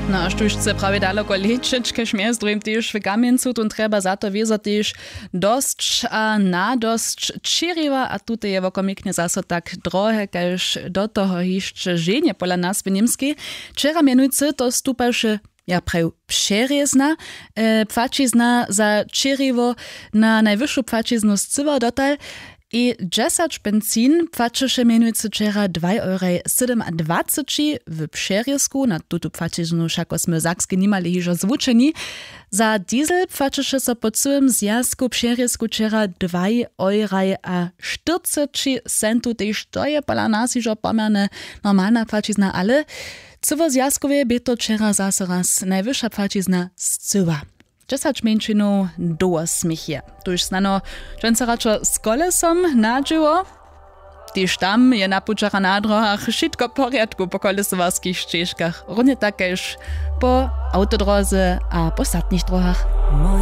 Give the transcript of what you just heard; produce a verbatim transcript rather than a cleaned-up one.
No a štóž chce prawje daloko lećeć, kaž mjez druhim tež w kamjencu, tón trjeba za to wězo tež dosć a nadosć čěriwa a tute je wokomiknje zaso tak drohe kaž do toho hišće ženje pola nas w němskej. Wčera mjenujcy to stupaše, ja praju, přerězna, e, płaćizna za čěriwo na najwyšu płaćiznu scyła dotal. I dźesać benzin płaćeše mjenujcy wčera dwaj euraj sydomadwaceći w přerězku. Na tutu płaćiznu wšako smy w sakskej nimali hižo zwučeni. Za diesel płaćeše so po cyłym zwjazku přerězku wčera dwaj euraj a štyrceći centu, tež to je pola nas hižo poměrnje normalna płaćizna, ale cyłozwjazkowje bě to wčera zaso raz najwyša płaćizna scyła. Dźesać mjeńšinow dołho směch je, tuž snano dźensa radšo z kolesom na dźěło. Tež tam je na pućach a na dróhach wšitko w porjadku po kolesowarskich šćežkach, runje tak kaž po awtodróze a po statnych dróhach.